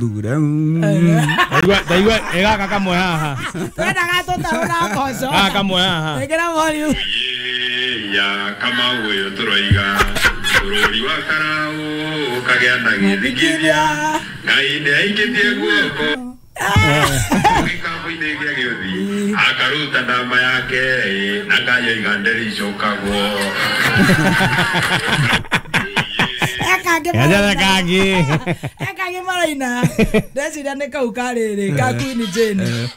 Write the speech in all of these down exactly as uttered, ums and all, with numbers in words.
Ndaigua ndaigua ega kamwe haha. Twenda gatũtarũ na mboco. Gaka kamwe haha. Ĩkĩra volume. Ya kama huyo turoiga bũrũri wa Karau ũkagĩa na gĩthigithia Ngai nĩaingĩtie guoko gĩkabũ-inĩ gĩa gĩũthi akaruta ndama yake na kayoiga ndĩrĩcokagwo. Ekangĩ Gajara kangĩ. Ekangĩ maraina. Ndeciria nĩ kau karĩrĩ ka Queen Jane.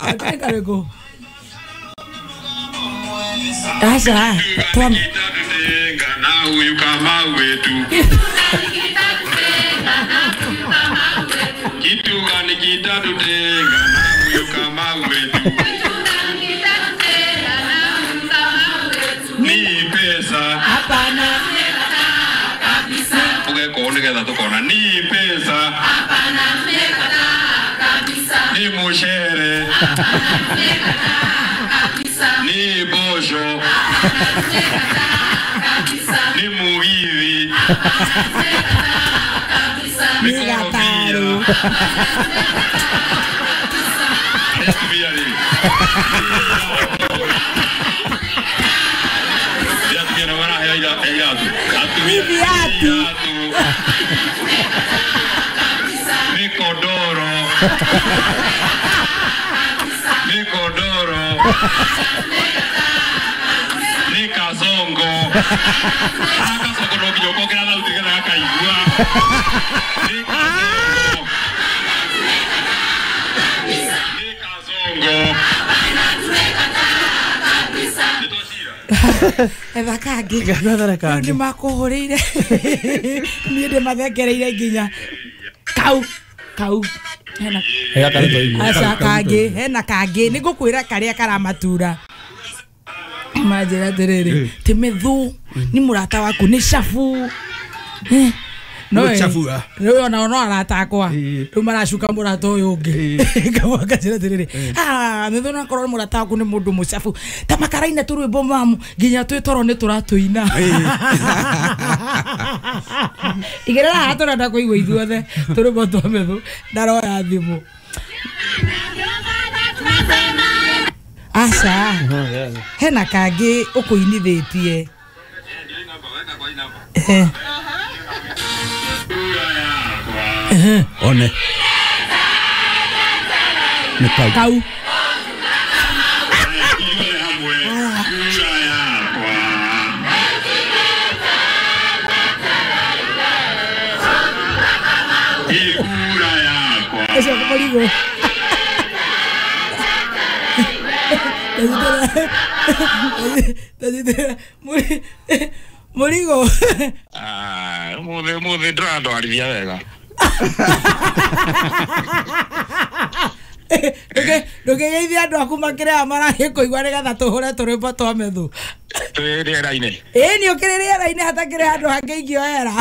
Atĩ karĩkũ? Aca, twam na huyu kama wetu kitu gani kitatutenga na huyu kama wetu ni pesa hapana ugeko nigetha tukona ni pesa hapana ni mucere ni bosho ni mugithi ni gataru ni viatu ni kodoro ni kodoro ni kasongo kasongo no nginya ũkongera thauti nĩgetha gakaigua ni kasongo ni kasongo etha kangĩ Gathara kangĩ. Nĩ makũhũrĩire niĩ ndĩmathekereire nginya kau kau hena Ega karĩ twaigua. aca kangĩ hena kangĩ nĩ ngũkwĩra karĩa karamatura manjĩra atĩrĩrĩ ti mĩthũ nĩ mũrata waku nĩ cabu. Eh, no Nĩ chabu, ah. rĩu ona no arata akwa Ĩĩ. rĩu maracuka mũrata ũyũ ũngĩ Kamwe akanjĩra atĩrĩrĩ ah mĩthũ no akorwo mũrata waku nĩ mũndũ mũcabu ta makaraina tũrwĩmbo mamu nginya twĩ toro nĩ tũratũina igĩrĩra haha tũrenda kũigua ithuothe tũrwĩmbo twa mĩthũ ndaroya thimũ aca hena kangĩ ũkũinithĩtie. Eh. One. Nĩ kau. Kau. Ithuothe hamwe kura yakwa ikura yakwa Ũcio mũrigo. Mũrigo. Ah, mũthĩ mũthĩ ndĩrandwarithia wega. Ndũkĩgeithie andũ aku makĩrĩa maragĩkũigua nĩgetha tũhũre tũrwĩmbo twa mĩthũ. Twĩ rĩera-inĩ. Ĩĩ nĩ ũkĩrĩ rĩera-inĩ hatakĩrĩ handũ hangĩ ingĩoera.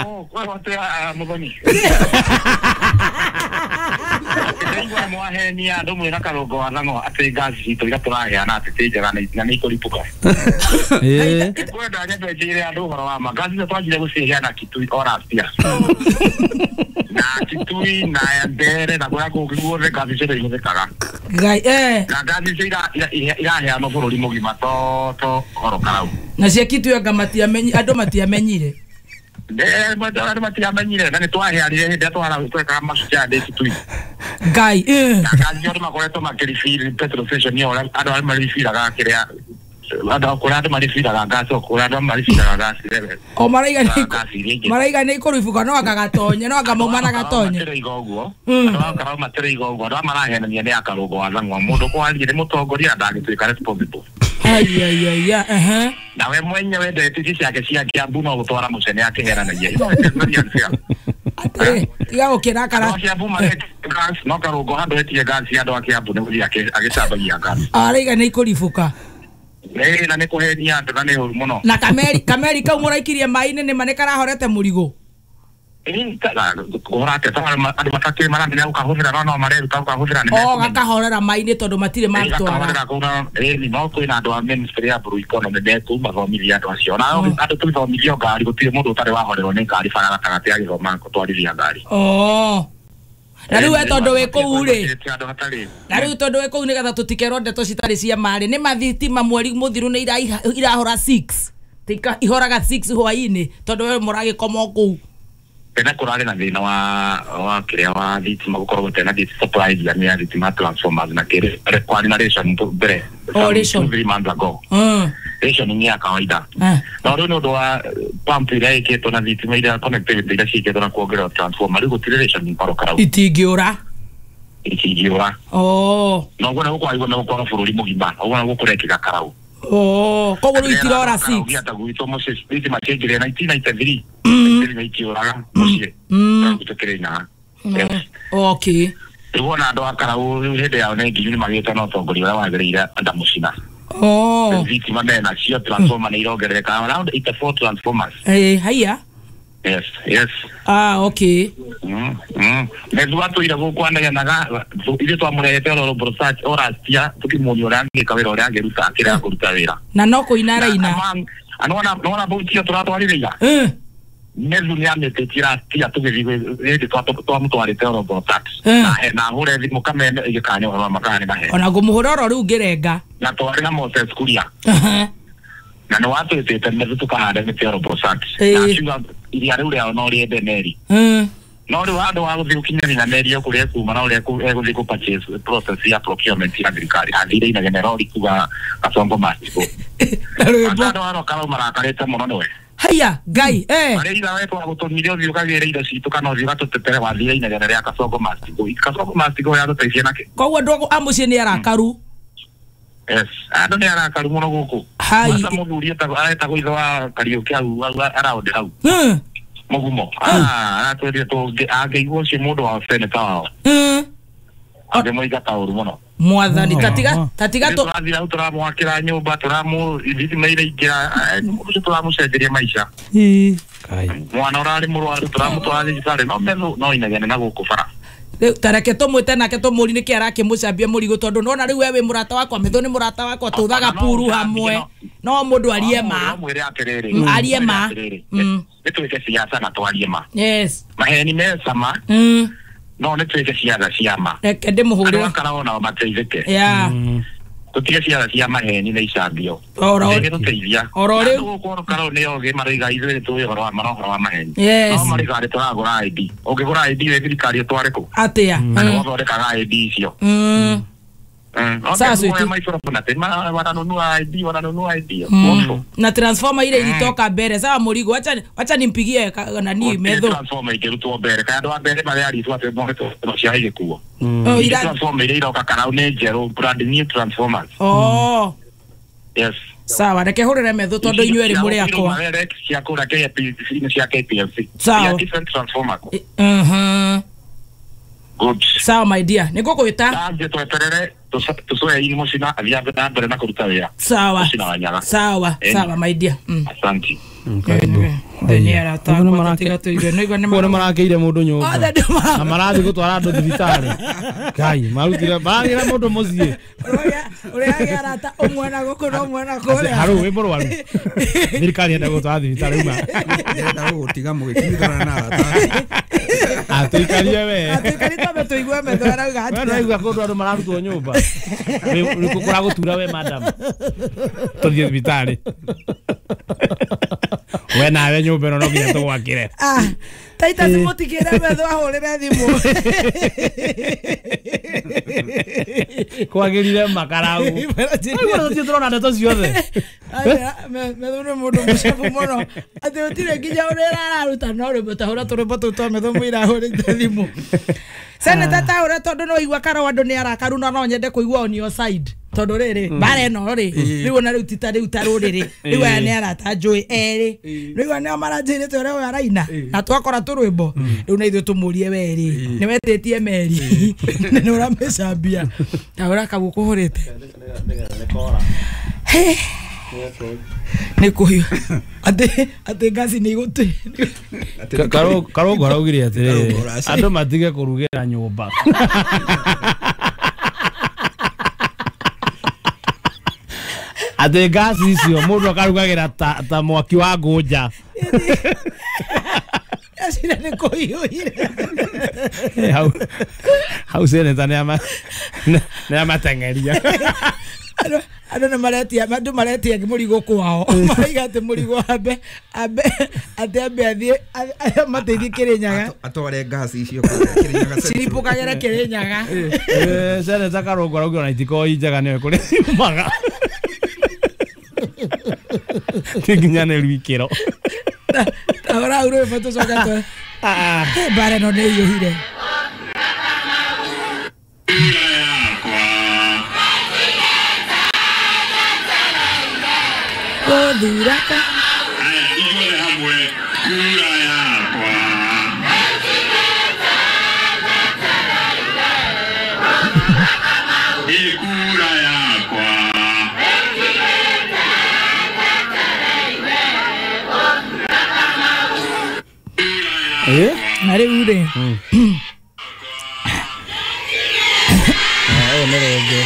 Oh, kwĩho atĩa mũthoni? Ndaigua mwahenia andũ mwĩna karũngo wa thang'o atĩ ngaci citũ iria tũraheana atĩ ti njega na nĩ ikũripũka. Ĩĩ. Kwenda nyambe njĩre andũ ũhoro wa ma ngaci icio twanjire gũciheana Kitui o last year. Na Kitui na Mbere na kũrĩa kũngĩ guothe ngaci icio nĩ ihũthĩkaga. Ngai eh Na ngaci icio iraheanwo bũrũri mũgima to to oro Karau. Na cia Kitui anga matiamenyi andũ matiamenyire. Andũ matiamenyire na nĩ twaheanire hĩndĩ ĩrĩa twekaga Mashujaa Day Kitui. Ngai eh Na ngaci icio andũ makoretwo makĩrefill petrol station ĩyo ũrĩa andũ arĩa maribiraga kĩrĩa andũ kũrĩa andũ maribiraga ngaci o kũrĩa andũ maribiraga ngaci o maraiga nĩ ngaci iria ingĩ. maraiga nĩ ikũribũka no anga gatonye no anga mauma na gatonye. Matĩrĩiga ũguo Mm. andũ a Karau matĩrĩiga ũguo andũ aya marahenania nĩ a Karũngo wa Thang'wa mũndũ kwaria nĩ mũtongoria ndangĩtuĩka responsible. Ai ai ai ya ehe Na we mwenyewe ndeti ici ciake cia Kiambu no gũtwara mũcene akĩheranagia. It's very unfair. Atĩrĩ tiga gũkĩrakara. Andũ a Kiambu maretia gas no Karũngo handũ etie gas andũ a Kiambu nĩ gũthiĩ akĩ- agĩcambagia gas. Araiga nĩ ikũribũka. Ĩĩ na nĩ kũhenia andũ na nĩ ũru mũno. Na kameri kameri kau mũraikirie maĩ-inĩ nĩma nĩ karahorete mũrigo. Andå matakä maramenya gå kahå thä ra no no mareruta gå kahå thä ra o gakahorera mai-inĩ tondũ matirĩ matwara no kwä na andå a ministry ya blue economy mekuu mathomithia andå acio na andå tũthomithio ngari gũtirĩ mũndũ ũtarĩ wahorerwo nĩ ngari bara gatagatĩ agĩthoma gũtwarithia ngari. Oh. Na rĩu we tondũ wĩ kũu rĩ, na rĩu tondũ wĩ kũu nĩgetha tũtikerwo ndeto citarĩ cia marĩ, nĩ mathitima mweri mũthiru nĩ irahora six tika ihoraga six hwaĩ-inĩ tondũ we mũragĩkoma o kũu. Tena kũrarĩ na thĩna wa wa kĩrĩa wa thitima gũkorwo gũtarĩ na supply ya thitima transformers na kĩrĩ kwarĩ na ration mbere Oh, ration. Three months ago. Mm. Ration nĩ ya kawaida. No rĩu nĩ ũndũ wa pump iria ĩkĩtwo na thitima iria connectivity iria ciĩkĩtwo na kuongerera transformer rĩu gũtirĩ ration barokara itingĩũra itingĩũra. Oh. Na ũguo nĩguo kwagĩrĩirwo nĩ gũkorwo bũrũri mũgima, ũguo nĩguo kũrekĩka Karau. Oh, koguo rĩu itirora six. Gĩata gwitũ mũciĩ thitima ciaingĩrire nineteen ninety-three. Thitima ikĩũraga mũciĩ. Gwitũ Kĩrĩnyaga. Okay. Rĩu ona andũ a Karau rĩu hĩndĩ yao nĩ nginyu nĩ magĩte na ũtongoria ũrĩa wagĩrĩire anda mũcina. Oh. Thitima mena cio transformer nĩ irongerereka around eighty-four transformers. Eh, haiya. Yes, yes. Ah, okay. Mm, mm. Methu atũire gũkũ anegenaga ithuĩ twamũrehete oro research orastia tũkĩmuonia ũrĩa angĩka wĩra ũrĩa angĩruta akĩrega kũruta wĩra. Na no kũina araina. Anona nona bũtia tũratwarire ira. Eh. Methu nĩ amĩtĩtie rastia tũgĩthiĩ hĩndĩ twamũtwarĩte oro research. Na na hũre thimũ kamene ĩgĩkanya ũhoro wa makana nĩ mahe. Ona ngũmũhũra oro rĩu ngĩrenga. Na twarĩ na Moses Kuria. Na nĩ watwĩtĩte Methu tũkahande mĩtĩ oro research. Na akiuga iria rĩu rĩao no rĩende meri. No rĩu handũ wa gũthiĩ gũkinyĩria na meri ĩyo kũrĩa ĩkuma na ũrĩa egũthiĩ kũ purchase process ya procurement ya thirikari athire inegene rori kuga Kasongo must go. Andũ a Karau marakarĩte mũno nĩwe. Haiya Ngai eh. Arĩa ira we twagũtũmire ũthiĩ ũkagĩre indo citũ kana ũthiĩ ũgatũtetere wathire inegene rĩa Kasongo must go. Kasongo must go yatũteithia nakĩ? Koguo andũ a mũciĩ nĩ arakaru. Yes, andũ nĩ arakaru mũno gũkũ. Mata mũthuri etagwo ithe wa Kariũki hau around hau. Mũgumo. Ah, aratwĩrire angĩigua ũcio mũndũ wa seneta wao. Angĩmũingata ũru mũno. Mwathani tatiga tatiga tũ tũrathiĩ hau tũramwakĩra nyũmba tũramũ thitima iraingĩra ũcio tũramũcenjeria maica. Mwana ũrarĩ mũrwaru tũramũtwara thibitarĩ no Methu no inegene na gũkũ bara. Rĩu tareke tũmwĩte nake tũmũrie nĩkĩ arakĩmũcambia mũrigo tondũ nona rĩu we wĩ mũrata wakwa Methu nĩ mũrata wakwa tũthaga puru hamwe no mũndũ arie ma arie ma nĩ twĩke siasa na twarie ma. Yes. Maheni me cama no nĩ twĩke siasa cia ma. Reke ndĩmũhũrĩre. Andũ a Karau nao mateithĩke. Yeah. Tũtige siasa cia maheni na icambio. Oro gĩtũteithia. Oro rĩu gũkũ Karau nĩ ogĩ maroiga ithuĩ nĩ tũĩ ũhoro wa ma na ũhoro wa maheni. Yes. No maroiga nĩ tũragũra I D. Ũngĩgũra I D wĩ thirikari ũtware kũ? Atĩa? Na nĩ gũthondekaga I D icio. Mm. Sasa wananunua I D, wananunua I D. Na transformer ile ilitoka mbere. Sawa mũrigo, acha acha nimpigie nani Methu. Transformer ikĩrutwo mbere. Kana andũ a mbere marĩa atwe mohetwo cia igĩkuo. Oh, ira transformer ile iroka Karau nĩ njerũ, brand new transformers. Oh. Yes. Sawa, reke hũrĩre Methu tondũ inyuĩ erĩ mũrĩ akwa. Cia kũra K P C nĩ cia K P L C. Sawa. Different transformers. Mhm. Good. Sawa my dear, nĩ ngũkwĩta. Thank tweterere tũcoe ini mũcina athiĩ na mbere na kũruta wĩra. Sawa. Sawa, sawa my dear. Asante. Nĩ marakĩire mũndũ nyũmba na marathiĩ gũtwara andũ thibitarĩ. Ngai, marutire maragĩra mũndũ mũciĩ. Ũrĩa agĩa arata ũmwe na gũkũ na ũmwe na kũrĩa. Harũ wĩ mũrwaru. Thirikari yenda gũtwara thibitarĩ uma. Ndĩrenda gũgũtiga mũgĩkinyithana na arata. Atũikarie we. Atũikarie twambe tũigue Methu arauga atĩa. We nĩwaigua kũndũ andũ mararutwo nyũmba. Kũragũtura we madam. Tũthiĩ thibitarĩ. We nawe nyũmba ĩno no nginya tũgwakĩre. Ah, Taita mũtikĩre Methu ahũrĩre thimũ. Kwagĩrire makarau. Aigua tũthiĩ tũrona ndeto ciothe. Methu nĩ mũndũ mũcabu mũno. Atĩ gũtirĩ nginya ũrĩa araruta no rwĩmbo tahũra tũrwĩmbo tũu twa Methu mũira ahũrĩte thimũ. Seneta taũra tondũ no igua Karau andũ nĩ arakaru na no nyende kũigua on your side. Tondũ rĩrĩ mbara ĩno rĩ rĩu ona rĩu ti ta rĩu ta rũrĩrĩ rĩu aya nĩ arata njũĩ erĩ rĩu aya nĩo maranjĩrĩte ũrĩa ũyũ araina na twakora tũrwĩmbo rĩu na ithuĩ tũmũrie we rĩ nĩ wetĩtie meri na nĩ ũramĩcambia ta ũrĩa kau ũkũhũrĩte. Nĩ kũhiũ atĩ atĩ ngasi nĩ igũtĩ Karũngũ araugire atĩrĩrĩ andũ matige kũrugĩra nyũmba. Atĩ ngasi icio mũndũ akarugagĩra ta, ta mwaki wa ngũnja. Acira nĩ kũhiũhire. Hau hau seneta nĩ amateng'eria. Andũ nĩ maretia andũ maretia mũrigo kwao maraiga atĩ mũrigo ambe ambe atĩ ambe athiĩ amateithie Kĩrĩnyaga atware ngasi icio Kĩrĩnyaga ciripũkagĩre Kĩrĩnyaga. Eh, seneta Karũngũ arauga ona itikoragwo i njega nĩwe kũrĩa ciumaga. Ti nginyanĩru ikĩro. Tahũra hau rwĩmbo tũcoke tũ mbara ĩno nĩ ĩiyũhire. Gũthura ka ithuothe hamwe kura yakwa. Ĩ kura yakwa. Eh? Na rĩu rĩ ũyũ nĩ rũngĩ.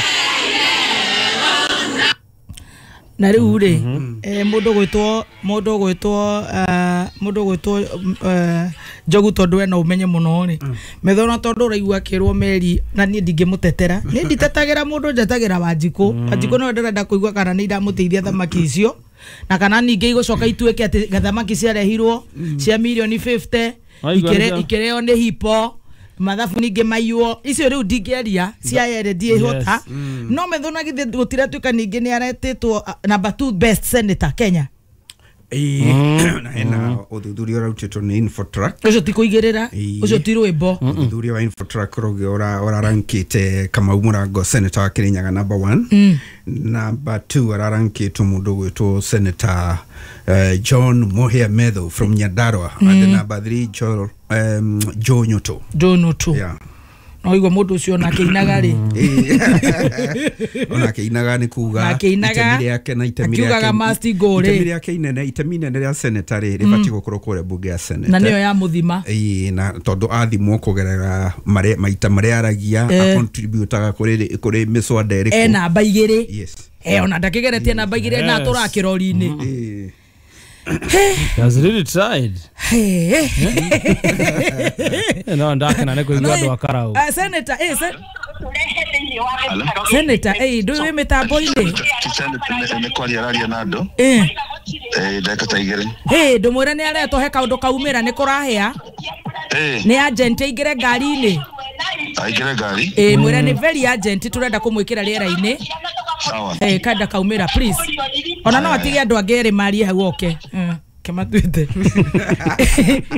Na rĩu rĩ mũndũ gwĩtwo mũndũ gwĩtwo mũndũ gwĩtwo Njogu tondũ ena ũmenye mũno rĩ methona tondũ ũraigua akĩrwo meri na niĩ ndingĩmũtetera niĩ nditetagĩra mũndũ njetagĩra Wanjikũ. Wanjikũ nĩwe ndĩrenda kũigua kana nĩ iramũteithia thamaki icio na kana ningĩ igũcoka ituĩke atĩ thamaki ciarehirwo cia mirioni fifty ikĩrĩo nĩ hipo mathabu ningĩ maiywo icio rĩu ndingĩaria cia ere ndiĩhota no methona githĩ gũtiratuĩka ningĩ nĩ aretĩtwo number two best senator Kenya. Ĩĩ na hena ũthuthuria ũrarutĩtwo nĩ Infotrack ũcio ti kũigĩrĩra ũcio ti rwĩmbo. Ũthuthuria wa Infotrack ũrarankĩte Kamau Mũrango senator wa Kĩrĩnyaga number one, number two ararankĩtwo mũndũ ũgwĩtwo Senator uh, John Muhia Methu from Nyandarua and the number three Joe um, Joe Nyoto. Joe Nyoto. Yeah. No igua mũndũ ũcio onake inaga rĩ onake inaga nĩ kuga itemi rĩake na itemi rĩake akiugaga must go rĩ itemi rĩake inene itemi inene rĩa senator rĩ rĩbatiĩ gũkorwo kũrĩa bunge ya senate na nĩyo ya mũthima. Ĩĩ na tondũ athimwo kũgerera mare maita marĩa aragia akontributaga kũrĩ kũrĩ mĩswada ĩrĩkũ e namba igĩrĩ. Yes. Eh ona ndakĩgeretie namba igĩrĩ na atũraga kĩrori-inĩ. He has really tried. Hey. No ndakena nĩ kũigua andũ a Karau. Senator, eh Senator, eh ndũ wĩ mĩtambo-inĩ? Nĩ kwaria araria na andũ. Eh. Eh ndagĩka ta igĩrĩ. Eh ndũmwĩre nĩ aretwo he kaũndũ kaumĩra nĩ kũrahĩa. Eh. Nĩ agent aingĩre ngari-inĩ. Aingĩre ngari? Eh mwĩre nĩ very agent tũrenda kũmwĩkĩra rĩera-inĩ. Sawa. Eh kanda kaumĩra please. Ona no atige andũ angĩ erĩ marie hau oke. Kĩmatuĩte.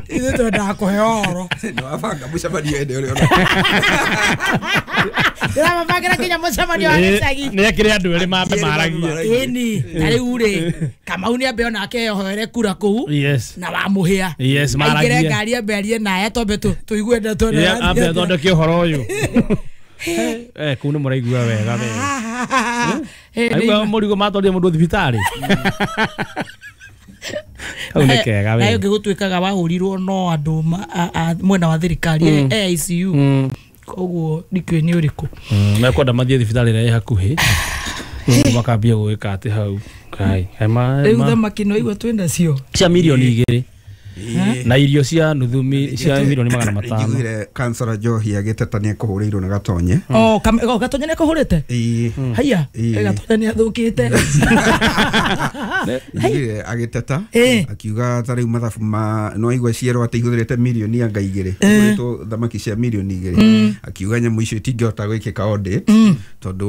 Ithuĩ twendaga kũheo ũhoro. Nĩ wabanga mũcemanio hĩndĩ ũrĩa ũrona. Ndĩramabangĩra nginya mũcemanio wa gĩcagi. Nĩ ekĩre andũ erĩ mambe maragie. Ĩni na rĩu rĩ Kamau nĩ ambe onake eyohere kura kũu. Yes. Na wamũhĩa. Yes, maragie. Aingĩre ngari ambe arie naye twambe tũigue ndeto ĩno. Ambe athondeke ũhoro ũyũ. Eh kũu nĩ mũraigua wega wega. Aigua mũrigo matwarire mũndũ thibitarĩ. Hau nĩ kega we. Nayo ngĩgũtuĩkaga wahũrirwo no andũ mwena wa thirikari A I C U. Koguo ndikĩũĩ nĩ ũrĩkũ. Mekwenda mathiĩ thibitarĩ ĩrĩa ĩ hakuhĩ. Makambia gwĩka atĩ hau. Kai. Rĩu thamaki no igua twĩ nacio. Cia mirioni igĩrĩ. Na irio cia nuthu cia milioni magana matano. Njiguire kansora Njohi agĩteta nĩ ekũhũrĩirwo nĩ Gatonye. Oh, Gatonye nĩ ekũhũrĩte? Ĩĩ. Haiya, Gatonye nĩ athũkĩte. Njiguire agĩteta akiuga ta rĩu mathabu ma no aigua cierwo atĩ ihũthĩrĩte milioni anga igĩrĩ. Ihũrĩtwo thamaki cia milioni igĩrĩ. Akiuga nyamũ icio itingĩhota gwĩkĩka audit tondũ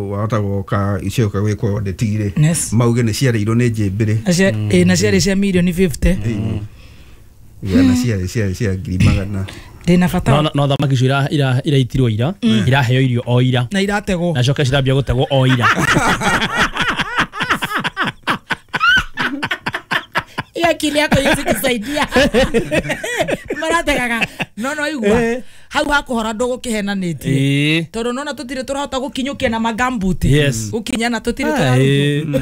wahota gũka icioka gwĩkwo audit rĩ mauge nĩ ciarĩirwo nĩ njĩmbĩrĩ. Ĩĩ na ciarĩ cia milioni fifty. Igana cia cia cia ngiri magana. Ndĩna bata. No no thamaki icio ira ira iraitirwo ira iraheo irio o ira. Na irategwo. Na coke cirambia gũtegwo o ira. Akili yako yezi kusaidia. Marategaga. No no igua. Hau hakuhora ndũgũkĩhenanĩtie. Tondũ nona tũtirĩ tũrahota gũkinyũkia na magambuti. Gũkinya na tũtirĩ tũrarutwo.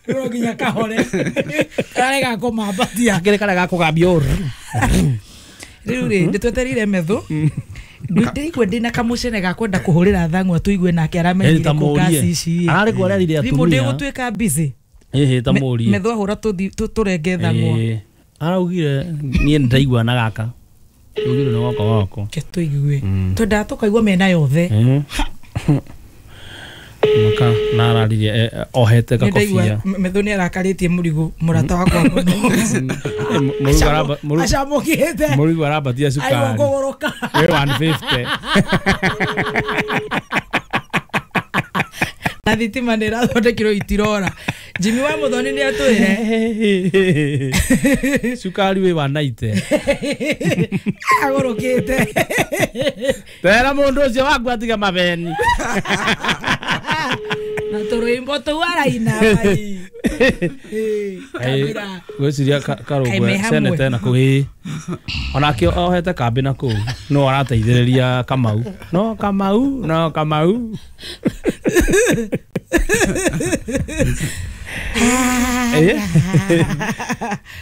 No nginya kahore. Karega kũmambatia. Kĩrĩ karega kũgambia ũru. Rĩu rĩ ndĩtwetereire metho. Ndĩigua ndĩna kamũcene ga kwenda kũhũrĩra thang'wa tũigue nake aramenyire kũ ngasi ici. Ararĩ kuo arerire atumia. Thimũ ndĩgũtuĩka busy. Ĩhĩ ta mũrie. Metho ahũra tũrenge thang'wa. Araugire niĩ nĩndaigua na gaka. Ugire nĩ goko goko. Ke tũigue. Twendaga tũkaigua mĩena yothe. Maka na araririe ohete gakobia. Metho nĩ arakarĩtie mũrigo mũrata wakwa mũno. Mũrigo acamũkĩte. Mũrigo arambatia cukari. Aigua kũgũrũka. Wĩ one fifty. Na thitima nĩ ĩrathondekirwo itirora. Jimmy wa Muthoni nĩ atwĩre. Cukari wĩ one ninety. Agũrũkĩte. Tera mũndũ ũcio waku atige mabeni. Na tũrwĩmbo tũu araina mai. Kamira. Gwĩciria Karũngwe seneta na kũu ĩĩ. Onake ohete kambĩ na kũu no arateithĩrĩria Kamau. No Kamau, no Kamau.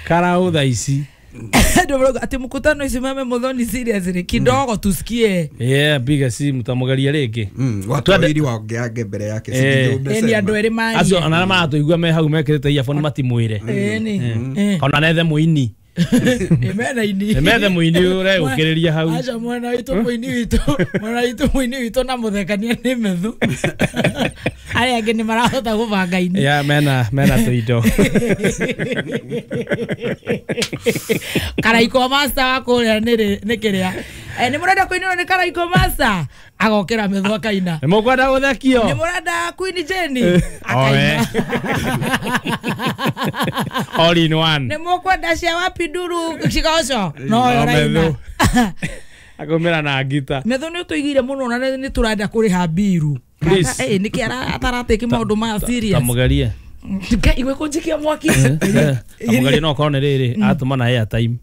Karau thaa ici. Ati mkutano isimame Muthoni seriously kidogo tusikie. Yeah, piga simu tamugeria rĩngĩ. Watu wawili waongeange mbere yake ni andũ erĩ marie. Acio ona arĩa maratũigua me hau mekĩrĩte earphone matimwĩre. Ĩni. Ona nethe mũini. Methe ini. Methe mũini ũregũkĩrĩria hau. Aca mwena witũ mũini witũ, mwena witũ mũini witũ na mũthekania nĩ methu. Arĩa angĩ nĩ marahota gũbanga ini. Yeah, mena mena tũindo. Karaiko master wa kũrĩa nĩ nĩ kĩrĩa. Eh nĩ mũrenda kũinĩrwo nĩ Karaiko master agokĩra methu akaina. Nĩ mũkwenda gũthekio. Nĩ mũrenda Queen Jenny akaina. All in one. Nĩ mũkwenda cia wapi nduru cigoco. No yo raina. Akomera na ngita. Methu nĩ ũtũigire mũno na nĩ tũrenda kũrĩha mbiru. Please. Eh nĩkĩ ataratĩki maũndũ ma serious. Tamugerie. Ngai igwe kũnjikia mwaki. Tamugerie no korwo nĩ rĩrĩ atũma na airtime.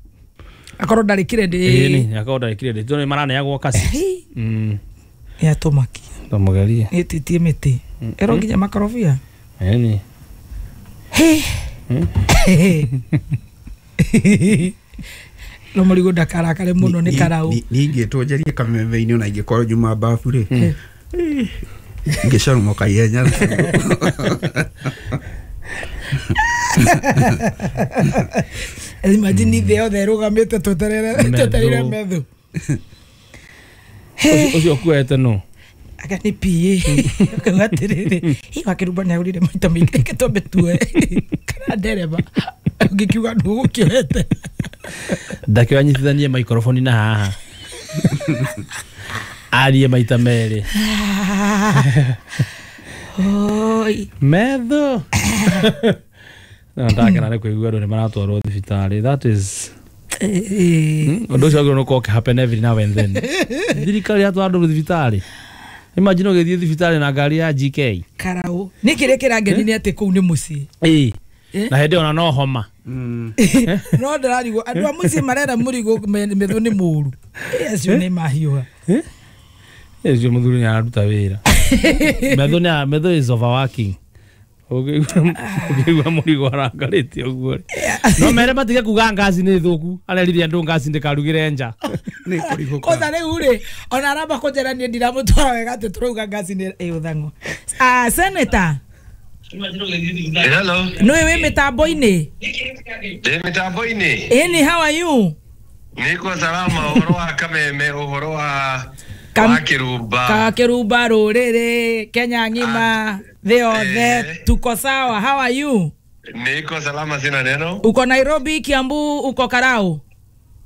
Akorwo ndarĩ credit. Ĩni akorwo ndarĩ credit. Tondũ nĩ maraneagwo kasi. Mm. Ya tũmakia. Tamugerie. Ĩtitie mĩtĩ. Ĩro nginya makorobia. Ĩni. He. No mũrigo ndakarakare mũno nĩ karau. Ningĩtwo njarie kameme-inĩ ona ingĩkorwo nyuma babu rĩ. Ngĩcarumoka ihenya. Imagine thĩ yothe ĩrũgamĩte tweterere twetereire methu. Ũcio ũkuete no. Aka nĩ P A. Ũkauga atĩrĩrĩ, hihi wakĩrumba nĩ agũrire maita maingĩ reke twambe tuoe. Kana ndereba ũngĩkiuga ndũgũkĩoete. Ndakĩoya nyitithanie microphone na haha. Arie maita merĩ. Oi. Metho. No ndakena nĩ kũigua andũ nĩ maratwarwo thibitarĩ. That is ũndũ ũcio wagĩrĩirwo nĩ gũkorwo ũkĩ happen every now and then. Thirikari yatwara andũ thibitarĩ. Imagine ũgĩthiĩ thibitarĩ na ngari ya G K. Karau. Nĩ kĩrĩa kĩrangeni nĩ atĩ kũu nĩ mũciĩ. Ĩĩ. Na hĩndĩ ona no homa. No ndĩrarigwo andũ a mũciĩ marera mũrigo methu nĩ mũru. Acio nĩ mahiũha. Ũcio mũthuri nĩ araruta wĩra. Methu nĩ methu is overworking. Ũkĩigua mũrigo arakarĩte ũguo. No mere matige kuga ngaci nĩ thũku. Arerire andũ ngaci ndĩkarugĩre nja. Nĩ kũrigũka. Kwanza rĩu rĩ ona aramba kũnjĩra niĩ ndiramũtwara wega atĩ tũrauga ngaci nĩ ĩũthang'o. Ah, senator. Hello. Nĩ wĩ mĩtambo-inĩ? Ndĩ mĩtambo-inĩ. Ĩni, how are you? Niko salama ũhoro wa Kameme ũhoro wa wa Kirumba. Ka Kirumba rũrĩrĩ Kenya ng'ima thĩ yothe tuko sawa. How are you? Niko salama sina neno. Uko Nairobi, Kiambu, uko Karau?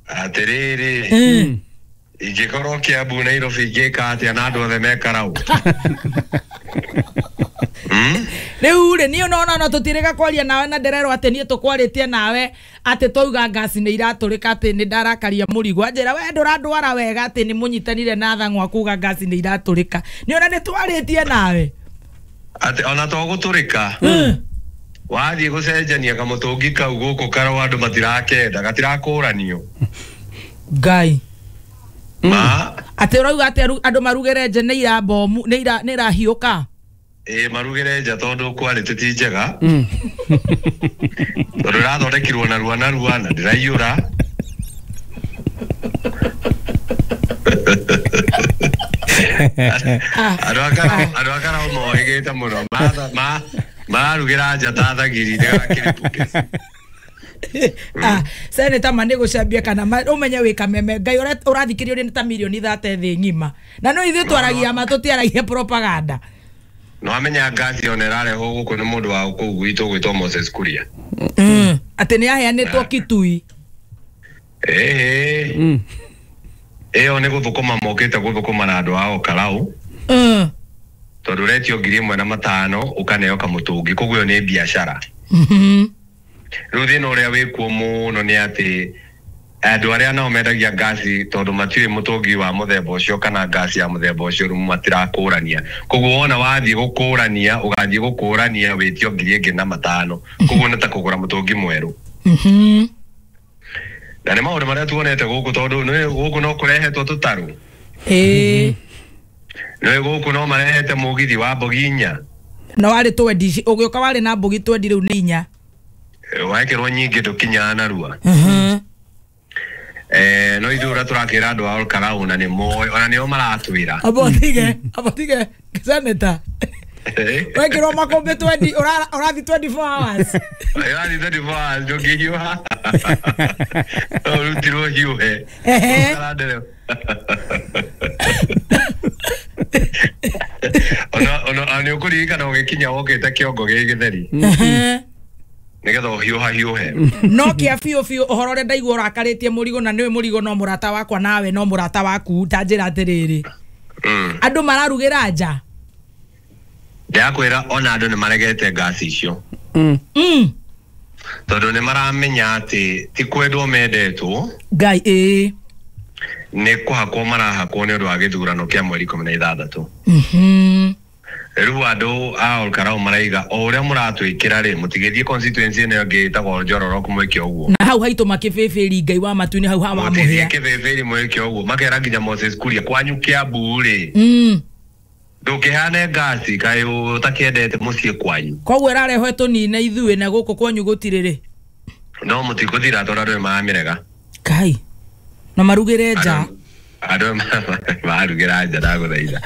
Atĩrĩrĩ. Mm. Ingĩkorwo Kiambu Nairobi ingĩka atĩa na andũ othe me Karau? Rĩu rĩ niĩ no no tũtirĩga kwaria nawe na ndĩrerwo atĩ niĩ tũkwarĩtie nawe atĩ twauga ngaci nĩ iratũrĩka atĩ nĩ ndarakaria mũrigo anjĩra we ndũrandwara wega atĩ nĩ mũnyitanire na thang'wa kuga ngaci nĩ iratũrĩka nĩ ona nĩ twarĩtie nawe atĩ ona to gũtũrĩka wathiĩ gũcenjania kamũtũngi kau gũkũ Karau andũ matirakenda gatirakũranio Ngai Ma Atĩ ũrauga atĩ andũ marugĩre nja nĩ ira bomu nĩ ira nĩ irahiũka. Ĩ marugĩre nja tondũ quality ti njega. Tondũ ĩrathondekirwo narua narua na ndĩraiyũra. Andũ andũ akara mohĩgĩte mũno ma mararugĩra nja ta thagiri ndĩgakĩripũke. Ah, seneta ma nĩ gũcambia kana ũmenye wĩ kameme Ngai ũrathikĩrĩrio nĩ ta mirioni thate thĩ ng'ima na no ithuĩ twaragia ma tũtiaragia propaganda. No amenya ngasi ona ĩrarehwo gũkũ nĩ mũndũ wa kũu gwitũ gwĩtwo Moses Kuria. Atĩ nĩ aheanĩtwo Kitui. Ĩĩ ĩyo nĩ gũthũkũma mokĩte gũthũkũma na andũ ao Karau. Tondũ ũretio ngiri ĩmwe na matano ũkaneo kamũtũngi koguo ĩyo nĩ biacara. Rĩu thĩna ũrĩa wĩkuo mũno nĩ atĩ andũ arĩa nao mendagia ngasi tondũ matiũĩ mũtũngi wa mũthemba ũcio kana ngasi ya mũthemba ũcio rĩu matirakũrania. Koguo wona wathiĩ gũkũrania ũgathiĩ gũkũrania wĩtio ngiri ĩngĩ na matano. Koguo nĩ ta kũgũra mũtũngi mwerũ. Na nĩ maũndũ marĩa tuonete gũkũ tondũ nĩ gũkũ no kũrehetwo tũtarũ. Ĩĩ. Nĩ gũkũ no marehete mũgithi wa mbogi inya. Na warĩ twendi ũgĩũka warĩ na mbogi twendi rĩu nĩ inya. Wekĩrwo nyingĩ ndũkinyaga narua. Eh no ithuĩ ũrĩa tũrakĩra andũ a Olkarau na nĩ moĩ ona nĩo maratwĩra. Abo tige abo tige seneta. Wekĩrwo makũmbĩ twendi ũrathi twenty-four hours. Ũrathi twenty-four hours ndũngĩhiũha. Ũrutirwo hiũhe. Ona ona nĩ ũkũririkana ũgĩkinya wokĩte kĩongo gĩ gĩtheri. Nĩgetha ũhiũha hiũhe. No kĩa biũ biũ ũhoro ũrĩa ndaigua ũrakarĩtie mũrigo na nĩwe mũrigo no mũrata wakwa nawe no mũrata waku ta njĩra atĩrĩrĩ. Andũ mararugĩra nja. Ndĩrakwĩra ona andũ nĩ maregete ngasi icio. Tondũ nĩ maramenya atĩ ti kwendwo mendetwo. Ngai ĩĩ. Nĩ kũhakwo marahakwo nĩ ũndũ wa gĩthurano kĩa mweri ikũmi na ithathatũ. Rĩu andũ a Olkarau maraiga o ũrĩa mũratwĩkĩra rĩ mũtigĩthiĩ constituency ĩno ĩngĩ ĩtagwo Njororok mwĩke ũguo. Na hau haitũ makĩbĩbĩri Ngai wa matu-inĩ hau hawa mũhĩa. Mũtigĩthiĩ kĩbĩbĩri mwĩke ũguo makera nginya Moses Kuria kwanyu Kiambu rĩ. Ndũkĩhane ngasi kaĩ ũtakĩendete mũciĩ kwanyu. Koguo ĩrarehwo ĩtũnine ithuĩ na gũkũ kwanyu gũtirĩ rĩ. No mũtikũthira tondũ andũ nĩmaramĩrega. Kai. Na marugĩre nja. Andũ marugĩra nja ndagũthaitha.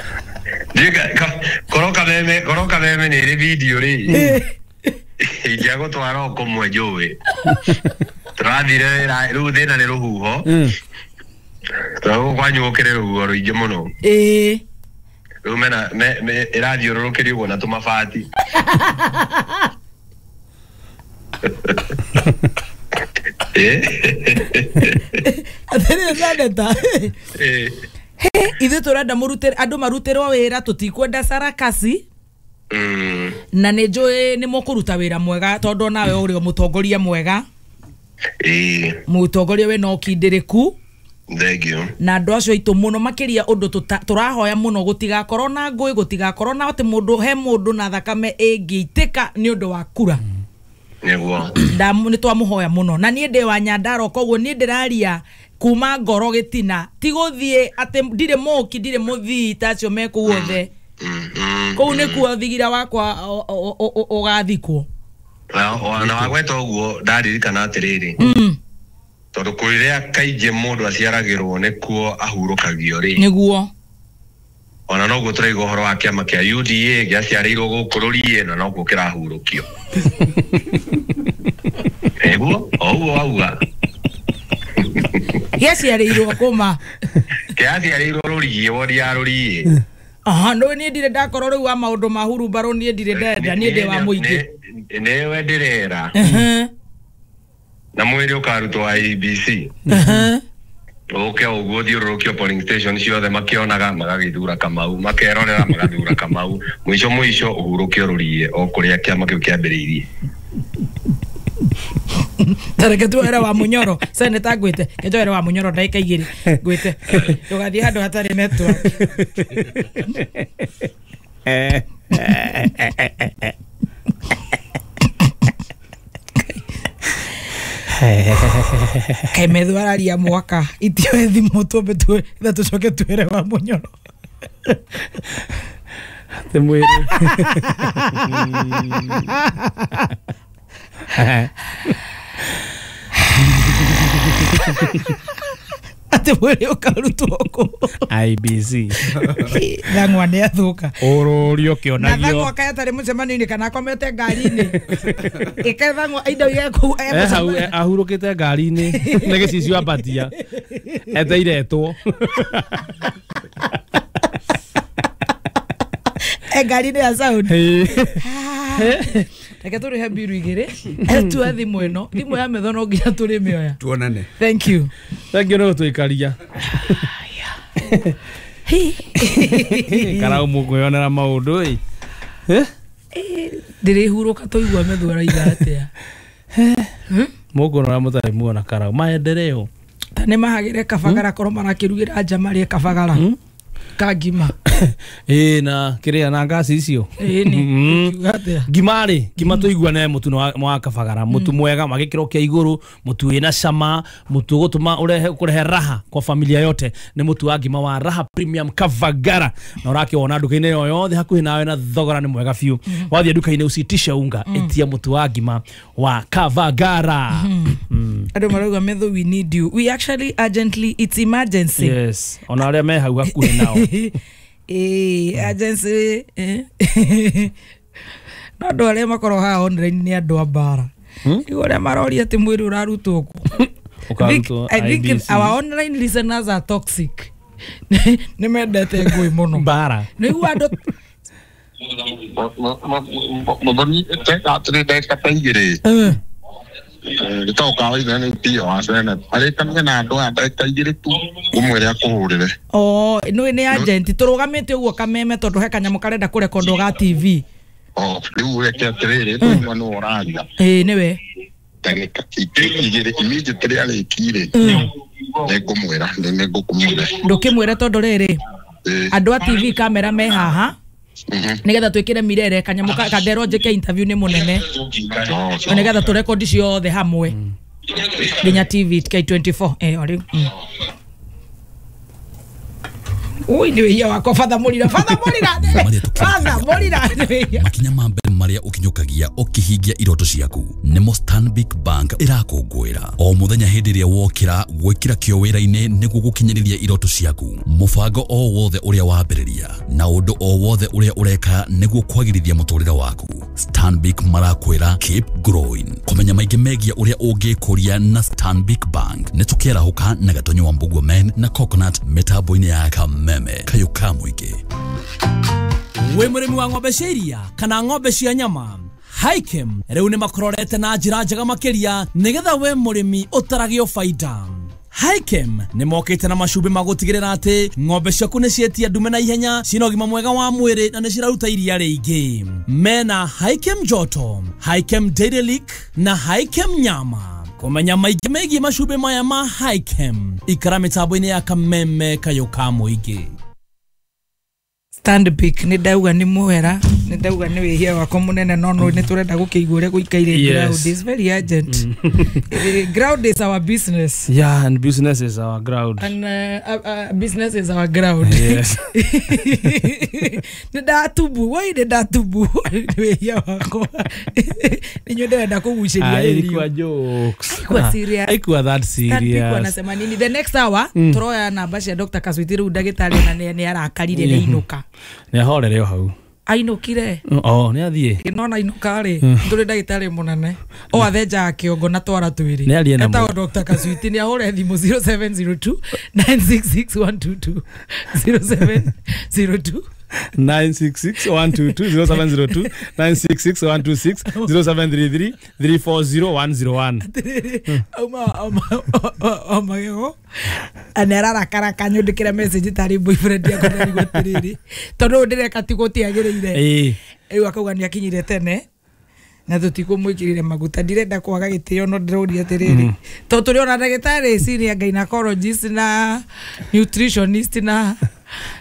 Korwo kameme korwo kameme nĩ ĩrĩ video rĩ. Ingĩagũtwara o kũmwe njũĩ. Tũrathire wĩra rĩu thĩna nĩ rũhuho. Tondũ kwanyu gũkĩrĩ rũhuho rũingĩ mũno. Ĩĩ. Rĩu mena ĩrathiũrũrũkĩrio ũguo na tũmabati. Atĩrĩrĩ seneta. Ithuĩ tũrenda mũrutĩre andũ marutĩrwo wĩra tũtikwenda sarakasi. Na nĩ njũĩ nĩ mũkũruta wĩra mwega tondũ onawe ũrĩ o mũtongoria mwega. Ĩĩ. Mũtongoria wĩna ũkindĩrĩku. Thank you. Na andũ acio aitũ mũno makĩria ũndũ tũrahoya mũno gũtigakorwo na ngũĩ gũtigakorwo na atĩ mũndũ he mũndũ na thakame ĩngĩitĩka nĩ ũndũ wa kura. Nĩguo. Nĩ twamũhoya mũno na niĩ ndĩ wa Nyandarua koguo niĩ ndĩraria kuma ngoro gĩtina ti gũthiĩ atĩ ndirĩ mũki ndirĩ mũthii ta acio me kũu othe. Kũu nĩkuo thigira wakwa ũgathikwo. Na wagweta ũguo ndaririkana atĩrĩrĩ. Tondũ kũrĩa kaingĩ mũndũ aciaragĩrwo nĩkuo ahurũkagio rĩ. Nĩguo. Ona noguo tũraigua ũhoro wa kĩama kĩa U D A gĩaciarĩirwo gũkũ rũriĩ na noguo kĩrahurũkio. Nĩguo o ũguo wauga. Gĩaciarĩirwo kũma. Kĩaciarĩirwo rũriĩ wodi ya rũriĩ. Aha no niĩ ndirĩ ndakorwo rĩu wa maũndũ ma hurumbarũ niĩ ndirĩ ndenda niĩ ndĩ wa mũingĩ. Nĩwe ndĩrera. Na mwĩrĩ ũkarutwo I E B C. Ũke ũguo thiũrũrũkio polling station ciothe makĩonaga magagĩthura Kamau makerorera magathura Kamau mũico mũico ũhurũkio rũriĩ o kũrĩa kĩama kĩu kĩambĩrĩirie. Tareke tuoere wa Munyoro seneta ngwĩte ke njoere wa Munyoro ndagĩka igĩrĩ ngwĩte ndũgathiĩ handũ hatarĩ network. Kaĩ metho araria mwaka itioe thimũ twambe tue itha tũcoke twĩre wa mũnyoro. Te mwĩrĩ. Atĩ mwĩrĩ ũkarutwo kũ? I B C. Thang'wa nĩ athũka. Ũrũrio ũkĩonagio. Na thang'wa kaĩ atarĩ mũcemanio-inĩ kana akomete ngari-inĩ. Ĩkae thang'wa indo iria kũu e Eh, hau mũcemanio. ahurũkĩte ngari-inĩ nĩ gĩcicio ambatia eteire etwo. E ngari-inĩ ya sound. Reke tũrĩhe mbiru igĩrĩ tue thimũ ĩno thimũ ya metho no nginya tũrĩmĩoya. Tuonane. Thank you. Thank you nĩ gũtũikaria. Karau mũkwĩyonera maũndũ ĩ. Ndĩrĩhurũka tũigua metho araiga atĩa. Mũkuona ũrĩa mũtarĩ muona karau maendeleo. Ta nĩ mahagĩre kabagara korwo marakĩrugĩra nja marĩe kabagara ka ngima. Ĩ na kĩrĩa na ngasi icio. Ĩ nĩ ũkiuga atĩa? Ngima rĩ, ngima tũiguane mũtu wa kabagara, mũtu mwega wa gĩkĩro kĩa igũrũ, mũtu wĩna cama, mũtu ũgũtũma ũrehe kũrehe raha kwa familia yote, nĩ mũtu wa ngima wa Raha Premium Kabagara. Na ũrakĩwona nduka-inĩ o yothe hakuhĩ nawe na thogora nĩ mwega biũ. Wathiĩ nduka-inĩ usitishe unga, ĩtia mũtu wa ngima wa Kabagara. Andũ marauga metho we need you. We actually urgently, it's emergency. Yes, ona arĩa me hau hakuhĩ nao. Eh, agency eh. No andũ arĩa makorwo haha online nĩ andũ a mbara. Rĩu arĩa maroria atĩ mwĩrĩ ũrarutwo kũ? Ũkarutwo I think I B C. our online listeners are toxic. Nĩ mendete ngũĩ mũno. Mbara. Nĩguo andũ Mũthoni atĩrĩ ndagĩka ta igĩrĩ. Gĩtoka waithe nĩ P O wa Senate. Arĩkanage na andũ aya ndagĩka igĩrĩ tu ũmwĩre akũhũrĩre. Oh, nĩ nĩ agent tũrũgamĩte ũguo kameme tondũ he kanyamũ karenda kũrekondwo ga T V. Oh, rĩu reke atĩrĩrĩ tũigua nĩwe ũraria. Ĩĩ nĩwe. Ndagĩka igĩrĩ immediately arĩkire nĩngũmwĩra nĩngũkũmwĩra. Ndũkĩmwĩre tondũ rĩrĩ andũ a T V kamera me haha nigetha twikire mirere kanyamu kanderwo njike interview ni munene nigetha turekondi ciothe hamwe nginya T V K twenty-four eh ori ui ni wia wako father Murira father Murira father Murira makinya ma mbere maria ukinyukagia ukihingia iroto ciaku nimo Stanbic Bank irakũngũĩra o muthenya hindi ria wokira gwikira kio wira-ini niguo gukinyiriria iroto ciaku mubango o wothe uria wambiriria na undu o wothe uria ureka niguo kwagirithia muturire waku. Stanbic marakwira keep growing. Kumenya maingi megia uria ungikuria na Stanbic Bank ni tukiarahuka na Gatonyo wa Mbugua Men na Coconut mitambo-ini ya Kameme kayo ka muingi. Wĩ mũrĩmi wa ng'ombe cia iria kana ng'ombe cia nyama, Hikem rĩu nĩ makororete na njĩra njega makĩria nĩgetha we mũrĩmi ũtaragio baida. Hikem nĩ mokĩte na macumbĩ ma gũtigĩrĩra atĩ ng'ombe ciaku nĩ cietia ndume na ihenya, cina ũgima mwega wa mwĩrĩ na nĩ ciraruta iria rĩingĩ. Mena Hikem Joto, Hikem Dairy Lick na Hikem Nyama. Kũmenya maingĩ megiĩ macumbĩ maya ma Hikem, ikara mĩtambo-inĩ ya Kameme kayo ka mũingĩ. Stanbic nĩ ndauga nĩ muhera nĩ ndauga nĩ wĩhia wakwa mũnene no no nĩ tũrenda gũkĩigua ũrĩa gũikaire. Ground is very urgent. Ground is our business. Yeah, and business is our ground. And uh, uh, business is our ground. Yes. Nĩ ndatubu woi nĩ ndatubu nĩ wĩhia wakwa nĩ nyũ ndĩrenda kũgucĩria. Ilikuwa jokes. Haikuwa serious. Haikuwa that serious. Stanbic wanasema nini the next hour turoya namba cia Doctor Kaswiti rĩu ndagĩtarĩ na nĩ arakarire nĩ inũka. Nĩ ahorere o hau. Ainũkire. Oh, nĩ athiĩ. Nona inũka rĩ, tũrĩ ndagĩtarĩ mũnene. O athenjaga kĩongo na twara twĩrĩ. Nĩ arie na Etagwo Doctor Kaswiti nĩ ahũre thimũ zero seven zero two nine six six one two two zero seven zero two nine six six one two two zero seven zero two nine six six one two six zero seven three three three four zero one zero one. Auma auma auma gego anerarakara kanyundikira message tari boyfriend yakwa ndarigwo atiriri tondu ndireka ti gutiagiriire eh riu akauga ni akinyire tene na tutikumwikirire maguta ndirenda kwaga gitio no ndiroria atiriri to turi ona ndagitari senior gynecologist na nutritionist na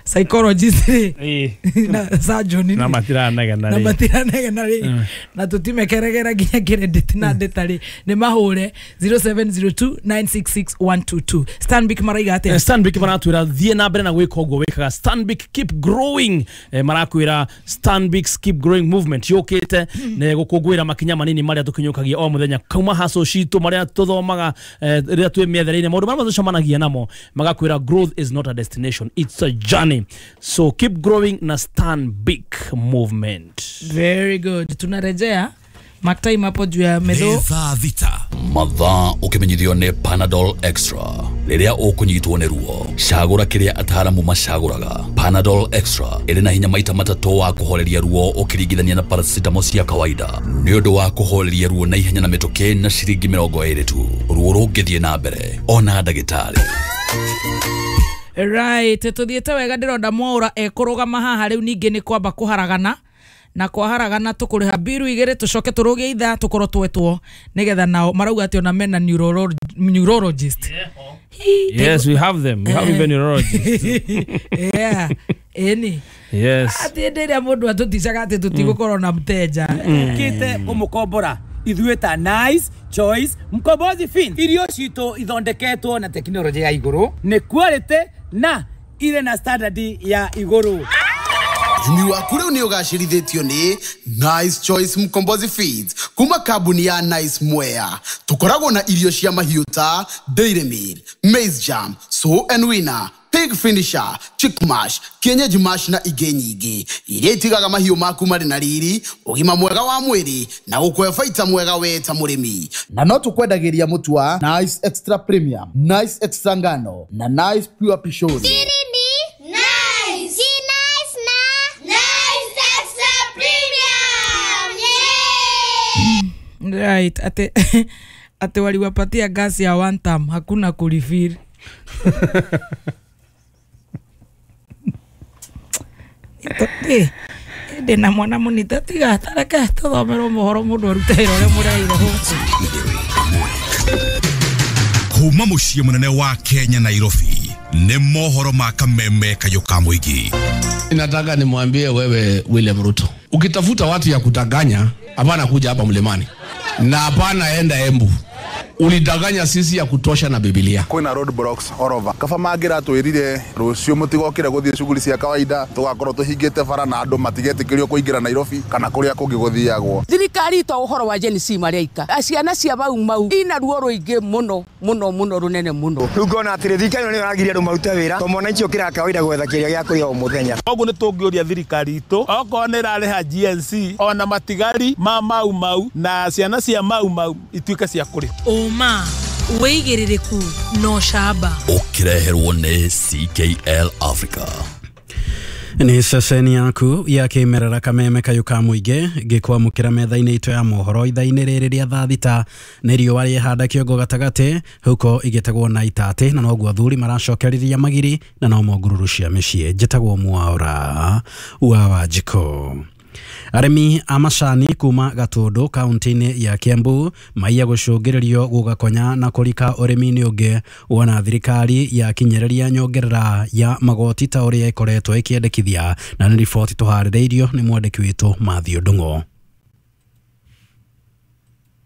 Psychologist rĩ na surgeon na matiranegena na rĩ matiranegena rĩ na tutimekeregera nginya credit na ndeta rĩ nĩ mahũre zero seven zero two nine six six one two two. Stanbic maraiga atĩa? Stanbic maratwĩra thiĩ na mbere na gwĩka ũguo wĩkaga. Stanbic keep growing. Eh, marakwĩra Stanbic keep growing movement yũkĩte nĩ gũkũngũĩra makinya manini marĩa tũkinyũkagia o mũthenya kuma haso citũ marĩa tũthomaga rĩrĩa twĩ mĩethere-inĩ maũndũ marĩa tũcemanagia namo magakwĩra growth is not a destination, it's a journey. So keep growing na Stanbic movement. Very good. Tunarejea mark time hapo juu ya medho thaa thita mathaa ũkĩmenyithio nĩ Panadol Extra. Rĩrĩa ũkũnyitwo nĩ ruo cagũra kĩrĩa ataaramu macagũraga. Panadol Extra ĩrĩ na hinya maita matatũ wa kũhoreria ruo ũkĩringithania na paracetamol cia kawaida nĩ ũndũ wa kũhoreria ruo na ihenya na mĩtũkĩ na ciringi mĩrongo ĩrĩ tu. Ruo rũngĩthiĩ na mbere ona ndagĩtarĩ. Right, tuthiĩte wega ndĩronda Mwaũra ekũrũgama haha rĩu ningĩ nĩ kwamba kũharagana na kwaharagana tũkũrĩha biru igĩrĩ tũcoke tũrũgie ithaa tũkorwo twetwo nĩgetha nao marauga atĩ ona mena neurologist. Yes, we have them. We have even neurologists. Yeah. Eni. Yes. Atĩ hĩndĩ ĩrĩa mũndũ atũticaga atĩ tũtigũkorwo na mteja. Kĩte kũmũkombora ithuĩ ta Nice Choice Mkombozi Fin. Irio citũ ithondeketwo na tekinoronjĩ ya igũrũ, nĩ quality na ire na standard ya igũrũ. Ũrĩmi waku rĩu nĩ ũgacĩrithĩtio nĩ Nice Choice Mkombozi Feeds kuma kambuni ya Nice Mwea. Tũkoragwo na irio cia mahiũ ta Dairy Meal, Maize Jam, Sow and Winner, Pig Finisher, Chick Mash, Kienyeji Mash na ingĩ nyingĩ iria itigaga mahiũ maku marĩ na riri, ũgima mwega wa mwĩrĩ na gũkũhe baita mwega we ta mũrĩmi. Na no tũkwendagĩria mũtu wa Nice Extra Premium, Nice Extra Ngano na Nice Pure Pishori. Right, ate ate waliwapatia gas ya one time, hakuna kulifiri. Itote ndina mwana munita tiga tareke tuthomerwo mohoro mundu arute wĩra ũrĩa mũreire gũkũ. Kuma mũciĩ mũnene wa Kenya Nairobi nĩ mohoro ma kameme kayũ ka mũingĩ. Nataka nimwambie wewe William Ruto, ukitafuta watu ya kutanganya hapana kuja hapa mlimani na hapana enda Embu. Ulidanganya sisi ya kutosha na Biblia. Kwina roadblocks all over. Kaba mangira twirire rucio mutigokire guthie shughuli cia kawaida tugakorwo tuhingite bara na andu matigetikirio kuingira Nairobi kana kuria kungi guthiagwo. Thirikari to uhoro wa Gen Z mareika. Ciana cia bau mau ina ruo ruingi muno muno muno runene muno. Riu ngona atiri thirikari ĩno nĩyo ĩragiria andũ marute wĩra to mwananchi ũkĩraga kawaida gwetha kĩrĩa gĩa kũrĩa o mũthenya. Koguo nĩ tũngĩũria thirikari itũ okorwo nĩ ĩrarĩha G N C ona matigari ma mau mau na ciana cia mau mau ituĩke cia kũrĩha. Ũma wĩigĩrĩrĩku no camba ũkĩreherwo nĩ C K L Africa. Nĩ ceceni yaku ya kĩmerera kameme kayũ ka mũingĩ ngĩkwamũkĩra metha-inĩ itũ ya mohoro ithaa-inĩ rĩrĩ rĩa thaa thita nĩ riũa rĩhanda kĩongo gatagatĩ huko igĩtagwo na itatĩ na noguo athuri maracokereria magiri na no mongururu cia mĩciĩ. Njĩtagwo Mwaũra wa Wanjikũ. Arĩmi a macani kuma Gatũndũ kaunti-inĩ ya Kiambu maiya gũcũngĩrĩrio gũgakonya na kũrika ũrĩmi-inĩ ũngĩ wona thirikari yakinyereria nyongerera ya magoti ta ũrĩa ĩkoretwo ĩkĩendekithia na nĩ riboti tũharĩrĩirio nĩ mwandĩki witũ Mathew Ndung'o.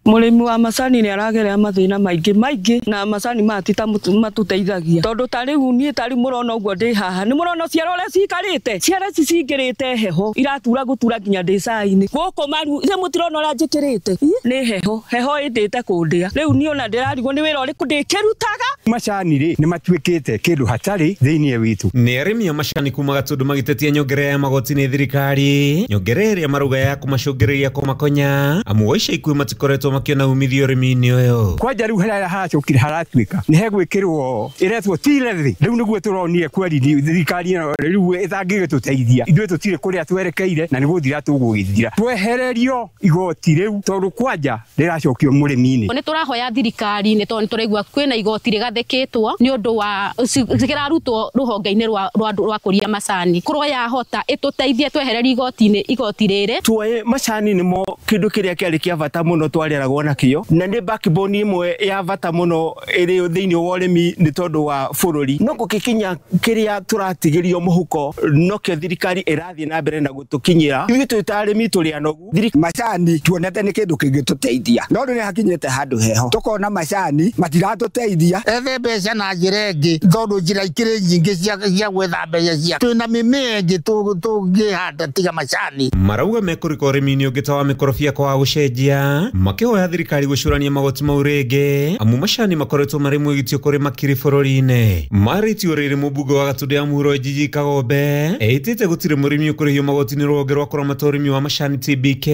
Mũrĩmi wa macani nĩ aragerera mathĩna maingĩ maingĩ na macani maya ti ta matũteithagia tondũ ta rĩu niĩ ta rĩu mũrona ũguo ndĩ haha nĩ mũrona ciara ũrĩa ciikarĩte ciara ici cingĩrĩte heho iratura gũtura nginya ndĩ cai-inĩ gũkũ maru nĩ mũtirona ũrĩa njĩkĩrĩte nĩ heho heho ĩndĩte kũndĩa rĩu niĩ ona ndĩrarigwo nĩ wĩra ũrĩkũ ndĩkĩrutaga. Macani rĩ nĩ matuĩkĩte kĩndũ hatarĩ thĩinĩ witũ. Nĩ arĩmi a macani kuma Gatũndũ magĩtetia nyongerera ya magoti nĩ thirikari nyongerera ĩrĩa marauga ya kũmacũngĩrĩria kũmakonya amu wa ica ikuhĩ matikoretwo makiona umithio ũrĩmi-inĩ ũyũ. Kwanja rĩu harĩa haracokire haratuĩka nĩ hegwĩkĩrwo ĩretwo ti levy rĩu nĩguo tũronire kweri thirikari ĩno rĩu ĩtangĩgĩtũteithia ithuĩ tũtirĩ kũrĩa twerekeire na nĩ gũthira tũgũgĩthira twehererio igoti rĩu tondũ kwanja rĩracokio mũrĩmi-inĩ. Nĩ tũrahoya thirikari nĩ tondũ nĩ tũraigua kwĩna igoti rĩgathĩkĩtwo nĩ ũndũ wa kĩrarutwo rũhonge-inĩ rwa rwa kũria macani kũrwo yahota ĩtũteithie twehererio igoti-inĩ igoti rĩrĩ. Tuoye macani nĩmo kĩndũ kĩrĩa kĩarĩ kĩa bata mũno twarĩa tũreragwo nakĩo na nĩ backbone ĩmwe ya bata mũno ĩrĩ thĩinĩ wa ũrĩmi nĩ tondũ wa bũrũri no gũgĩkinya kĩrĩa tũratigĩrio mũhuko nokĩo thirikari ĩrathiĩ na mbere na gũtũkinyĩra ithuĩ twĩ ta arĩmi tũrĩ anogu. Macani tuonete nĩ kĩndũ kĩngĩtũteithia no rĩu nĩ hakinyĩte handũ heho tũkona macani matiratũteithia. Ethe mbeca na njĩra ĩngĩ tondũ njĩra ikĩrĩ nyingĩ cia gwetha mbeca cia twĩna mĩmea ĩngĩ tũngĩhanda tiga macani. Marauga mekũrika ũrĩmi-inĩ ũngĩ ta wa mĩkorobia kwa gũcenjia makĩhoya thirikari gũcũrania magoti mau rĩngĩ amu macani makoretwo marĩ mwĩgitio kũrĩ makiri bũrũri-inĩ. Marĩtio rĩrĩ mũmbunge wa Gatũndũ ya Mũhuro Njiji Kagombe ĩtĩte gũtirĩ mũrĩmi ũkũrĩhio magoti nĩ rũhonge rwa kũramata ũrĩmi wa macani T B K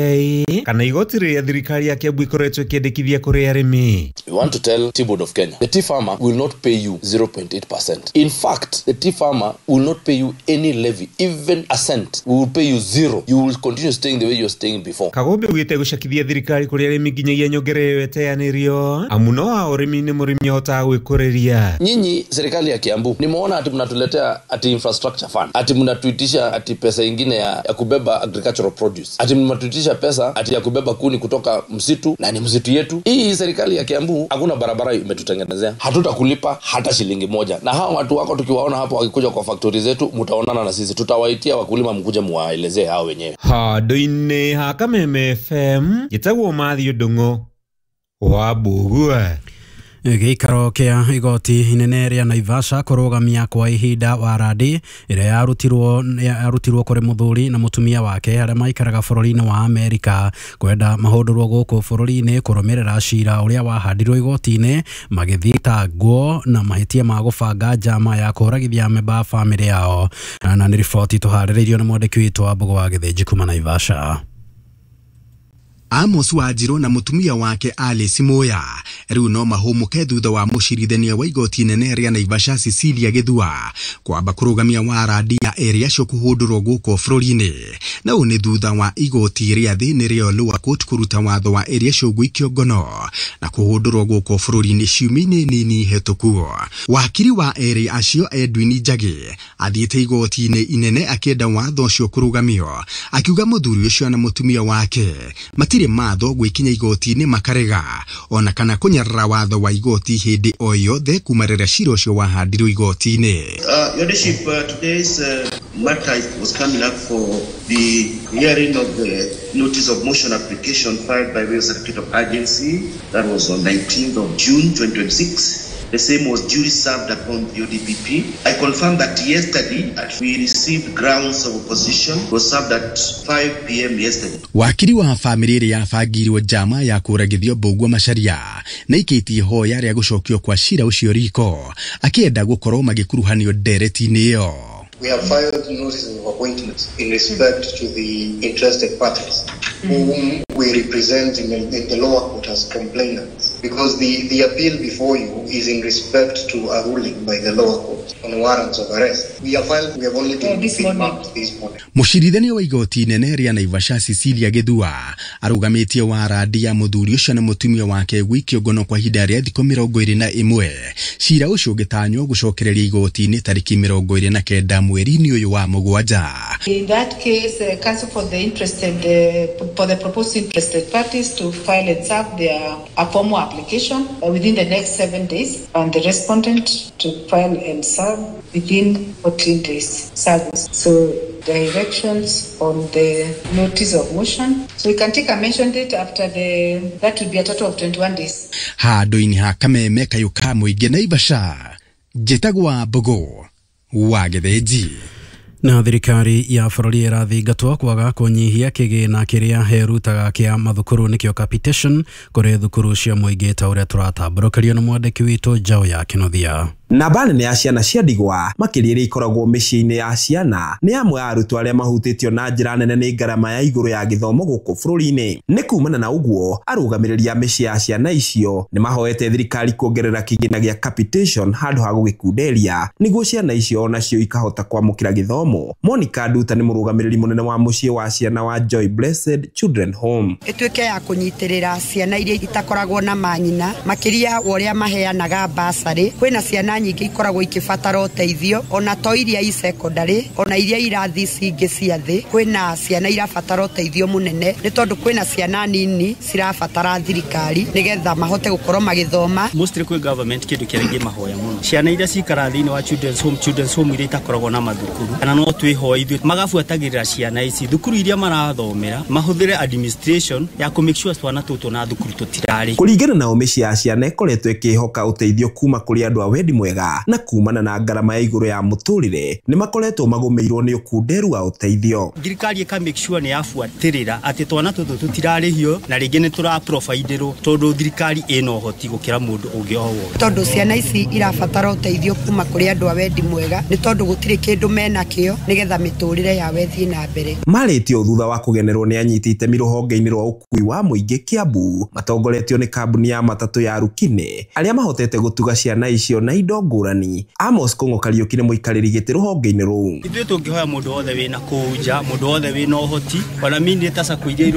kana igoti rĩrĩa thirikari ya Kiambu ĩkoretwo ĩkĩendekithia kũrĩ arĩmi. We want to tell Tea Board of Kenya, the tea farmer will not pay you zero point eight percent. In fact, the tea farmer will not pay you any levy, even a cent. We will pay you zero. You will continue staying the way you were staying before. Kagombe ugite gũcakithia thirikari kũrĩ arĩmi nginyagia nyongerera ĩyo ĩteanĩrio amu no wa ũrĩmi nĩ mũrĩmi ahotaga gwĩkũrĩria. Nyinyi serikali ya Kiambu nimeona ati mnatuletea ati infrastructure fund, ati mnatuitisha ati pesa ingine ya, ya kubeba agricultural produce, ati mnatuitisha pesa ati ya kubeba kuni kutoka msitu na ni msitu yetu. Hii serikali ya Kiambu hakuna barabara imetutengenezea, hatutakulipa hata shilingi moja. Na hawa watu wako tukiwaona hapo wakikuja kwa factory zetu, mtaonana na sisi, tutawaitia wakulima mkuje muwaelezee hao wenyewe. Handũ-inĩ ha Kameme F M njĩtagwo Matthew Ndung'u wa Mbugua. Gĩikaro kĩa igoti inene rĩa Naivasha kũrũgamia kwa ihinda warandi ĩrĩa yarutirwo yarutirwo kũrĩ mũthuri na mũtumia wake arĩa maikaraga bũrũri-inĩ wa Amerika kwenda mahũndũrwo gũkũ bũrũri-inĩ kũrũmĩrĩra cira ũrĩa wahandirwo igoti-inĩ magĩthitangwo na mahĩtia ma gũbanga njama ya kũragithia amemba a bamĩrĩ yao. Na nĩ riboti tũharĩrĩirio nĩ mwandĩki witũ wa Mbũgũ wa Gĩthĩnji kuma Naivasha. Amos Wanjiru na mutumia wake Alice Muya riu no mahumuke thutha wa mucirithania wa igoti inene ria Naivasha Cecilia Githua kwamba kurugamia warandi ya eri acio kuhundurwo guku bururi-ini na uu ni thutha wa igoti ria thi nirio lower court kuruta watho wa eri acio guikio ngono na kuhundurwo guku bururi-ini ciumia-ini nini hituku. Wakiri wa eri acio Edwin Njagi athiite igoti-ini inene akienda watho ucio kurugamio akiuga muthuri ucio na mutumia wake matire matho gwikinya igoti-inĩ makarega ona kana kunyarara watho wa igoti hindi o yothe kuma rĩrĩa cira ũcio wahandirwo igoti-inĩ. Uh, Your Lordship, uh, today's uh, matter was coming up for the hearing of the notice of motion application filed by way of certificate of urgency. That was on nineteenth of June twenty twenty-six. The same was duly served upon the O D P P. I confirm that yesterday we received grounds of opposition. It was served at five p m yesterday. Wakiri wa famĩlĩ ĩrĩa yabangirwo njama ya kũragithio Mbũgua Macharia na ikĩtie ihoya rĩa gũcokio kwa cira ũcio riko akĩenda gũkorwo magĩkuruhanio ndereti-inĩ ĩyo. We have filed notices of appointment in respect to the interested parties whom we represent in the, in the lower court as complainants, because the, the appeal before you is in respect to a ruling by the lower court on warrants of arrest. We have filed, we have only been, oh, been marked this morning. Mũcirithania wa igoti inene rĩa Naivasha Cecilia Githua arũgamĩtie warandi ya mũthuri ũcio na mũtumia wake gũikio ngono kwa ihinda rĩa thikũ mĩrongo ĩrĩ na ĩmwe. Cira ũcio ũgĩtanywo gũcokereria igoti-inĩ tarĩki mĩrongo ĩrĩ na kenda mweri-inĩ ũyũ wa mũgwanja. In that case, uh, counsel for the interested, uh, for the proposed interested parties to file and serve their a formal application uh, within the next seven days, and the respondent to file and serve within fourteen days service. So directions on the notice of motion. So we can take a mention date after the, that will be a total of twenty-one days. Handũ-inĩ ha Kameme kayũ ka mũingĩ Naivasha, njĩtagwo Mbũgũ wa Gĩthĩnji. Na thirikari ya bũrũri ĩrathingatwo kwaga kũnyihia kĩgĩna kĩrĩa herutaga kĩa mathukuru nĩkĩo capitation kũrĩ thukuru cia mũingĩ ta ũrĩa tũratambũrũkĩrio nĩ mwandĩki witũ Njaũ ya Kĩnuthia. Namba nene ya ciana cia ndigwa makĩria iria ikoragwo mĩciĩ-inĩ ya ciana nĩ amwe a arutwo arĩa mahutĩtio na njĩra nene nĩ ngarama ya igũrũ ya gĩthomo gũkũ bũrũri-inĩ. Nĩ kumana na ũguo arũgamĩrĩri a mĩciĩ ya ciana icio nĩ mahoete thirikari kuongerera kĩgĩna gĩa capitation handũ ha gũgĩkunderia nĩguo ciana icio onacio ikahota kwamũkĩra gĩthomo. Monica Nduta nĩ mũrũgamĩrĩri mũnene wa mũciĩ wa ciana wa Joy Blessed Children Home. Ĩtuĩke ya kũnyitĩrĩra ciana iria itakoragwo na manyina makĩria wa ũrĩa maheanaga basarĩ. Kwĩna ciana ciana nyingĩ ikoragwo ikĩbatara ũteithio ona to iria i secondary ona iria irathi cingĩ cia thĩ. Kwĩna ciana irabatara ũteithio mũnene nĩ tondũ kwĩna ciana nini cirabatara thirikari nĩgetha mahote gũkorwo magĩthoma. Mostly kwĩ government kĩndũ kĩrĩa ingĩmahoya mũno, ciana iria cikaraga thĩinĩ wa children's home, children's home iria itakoragwo na mathukuru, kana no twĩhoe ithuĩ magabuatagĩrĩra ciana ici thukuru iria marathomera, mahũthĩre administration ya kũ make sure twana tũtũ na thukuru tũtirarĩ. Kũringana nao mĩciĩ ya ciana ĩkoretwo ĩkĩhoka ũteithio kuma kũrĩ andũ a wendi mwega na kumana na ngarama ya igũrũ ya mũtũrĩre nĩ makoretwo magũmĩirwo nĩ ũkunderu wa ũteithio. Thirikari ĩka make sure nĩ yabuatĩrĩra atĩ twana tũtũ tũtirarĩhio na rĩngĩ nĩ tũraproviderwo tondũ thirikari ĩna ũhoti gũkĩra mũndũ ũngĩ o wothe. Tondũ ciana ici irabatara ũteithio kuma kũrĩ andũ a wendi mwega nĩ tondũ gũtirĩ kĩndũ menakĩo nĩgetha mĩtũrĩre yao ĩthiĩ na mbere. Marĩtio thutha wa kũgenerwo nĩ anyiti itemi rũhonge-inĩ rwa ũkui wa mũingĩ Kiambu matongoretio nĩ kambuni ya matatũ ya Rukine arĩa mahotete gũtuga ciana icio na indo ngũrani. Amos Kong'o Kariũki nĩ mũikarĩri gĩtĩ rũhonge-inĩ rũu. Ithuĩ tũngĩhoya mũndũ wothe wĩna kũu nja, mũndũ wothe wĩna ũhoti, ona mini ta sacco iria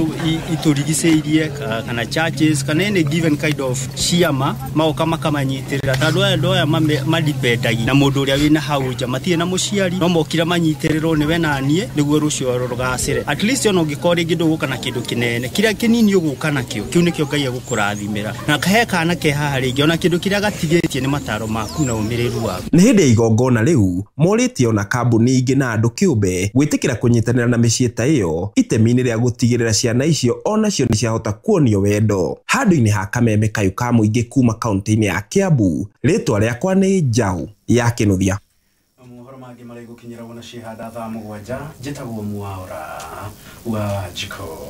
itũrigicĩirie kana churches kana any given kind of ciama magoka makamanyitĩrĩra tondũ aya andũ aya madipendagi na mũndũ ũrĩa wĩna hau nja matirĩ na mũciari no mokire manyitĩrĩrwo nĩwe na niĩ nĩguo rũciũ rũgacĩre. At least ona ũngĩkorwo rĩngĩ ndũgũka na kĩndũ kĩnene, kĩrĩa kĩnini ũgũka nakĩo kĩu nĩkĩo Ngai egũkũrathimĩra na he kana ke haha rĩngĩ ona kĩndũ kĩrĩa gatigĩtie nĩ mataro maku na ũmĩrĩru waku. Nĩ hĩndĩ ya igongona rĩu morĩtie ona kambuni ingĩ na andũ kĩũmbe gwĩtĩkĩra kũnyitanĩra na mĩciĩ ta ĩyo itemi-inĩ rĩa gũtigĩrĩra ciana icio onacio nĩ ciahota kuonio wendo. Handũ-inĩ ha kameme kayũ ka mũingĩ kuma kaunti-inĩ ya Kiambu, rĩtwa rĩakwa nĩ Njaũ ya Kĩnuthia. Mohoro mangĩ marĩa gũkinyĩra wona cihanda thaa mũgwanja. Njĩtagwo Mwaura wa Jiko.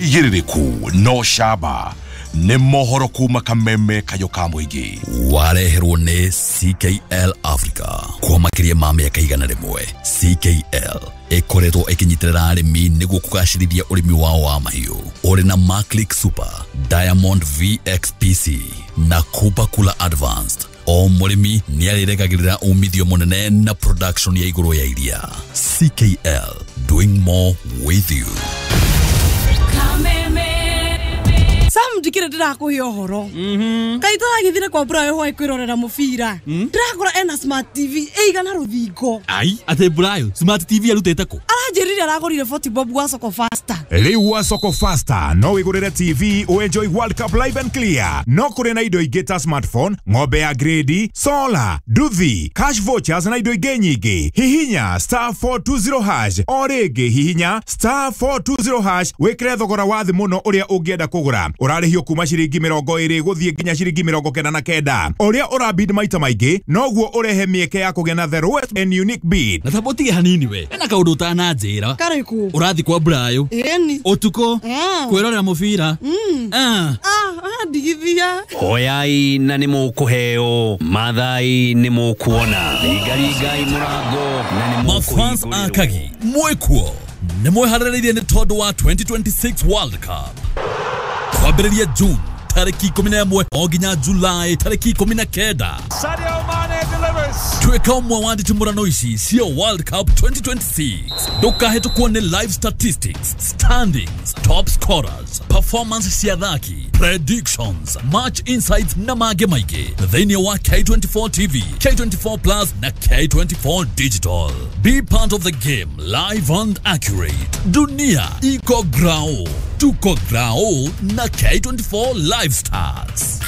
Igĩrĩrĩku no camba nĩ mohoro kuma kameme kayũ ka mũingĩ wareherwo nĩ C K L Africa kwa makĩria ma mĩaka igana rĩmwe. C K L ĩkoretwo ĩkĩnyitĩrĩra arĩmi nĩguo kũgacĩrithia ũrĩmi wao wa mahiũ ũrĩ na Maclick Super, Diamond V X P C na Cooper Cooler Advanced. O mũrĩmi nĩ arĩregagĩrĩra umithio mũnene na production ya igũrũ ya iria. C K L, doing more with you. Sam ndikire ndirakuhe ũhoro. Kai tũragĩthire kwa Brayo hwaĩ kwĩrorera mũbira. Ndĩrakora ena smart T V ĩigana rũthingo. Ai, atĩ Brayo smart T V arutĩte kũ? Aranjĩrire aragũrire forty bob gwa Soko Faster. Rĩu gwa Soko Faster no wĩgũrĩre T V ũenjoy World Cup live and clear. No kũrĩ na indo ingĩ ta smartphone, ng'ombe ya grade, solar, nduthi, cash vouchers na indo ingĩ nyingĩ. Hihinya star four two zero hash o rĩngĩ hihinya star four two zero hash wĩkĩre thogora wa thĩ mũno ũrĩa ũngĩenda kũgũra. Ũrarĩhio kuma ciringi mĩrongo ĩrĩ gũthiĩ nginya ciringi mĩrongo kenda na kenda. Ũrĩa ũrabid maita maingĩ noguo ũrehe mĩeke ya kũgĩa na the lowest and unique bid. Na tamba ũtige hanini we ena kaũndũ ũtananjĩra. Karĩkũ? Ũrathiĩ kwa Brayo ĩni ũtukũ kwĩrorera mũbira. Ah, ndigithia. Hoyai na nĩ mũkũheo, mathai nĩ mũkuona, ringaringai mũrango na nĩ mafans akagi mwĩkuo nĩ mwĩharĩrĩirie nĩ tondũ wa twenty twenty-six World Cup kwambĩrĩria June tarĩki ikũmi na ĩmwe o nginya July tarĩki ikũmi na kenda. Sadio Mane delivers. Tuĩka ũmwe wa nditimũrano ici cia World Cup twenty twenty-six. Ndũkahĩtũkwo nĩ live statistics, standings, top scorers, performance cia athaki, predictions, match insights na mangĩ maingĩ thĩinĩ wa K twenty-four T V, K twenty-four Plus na K twenty-four Digital. Be part of the game live and accurate. Dunia iko grao, tuko grao na K twenty-four Live Stars.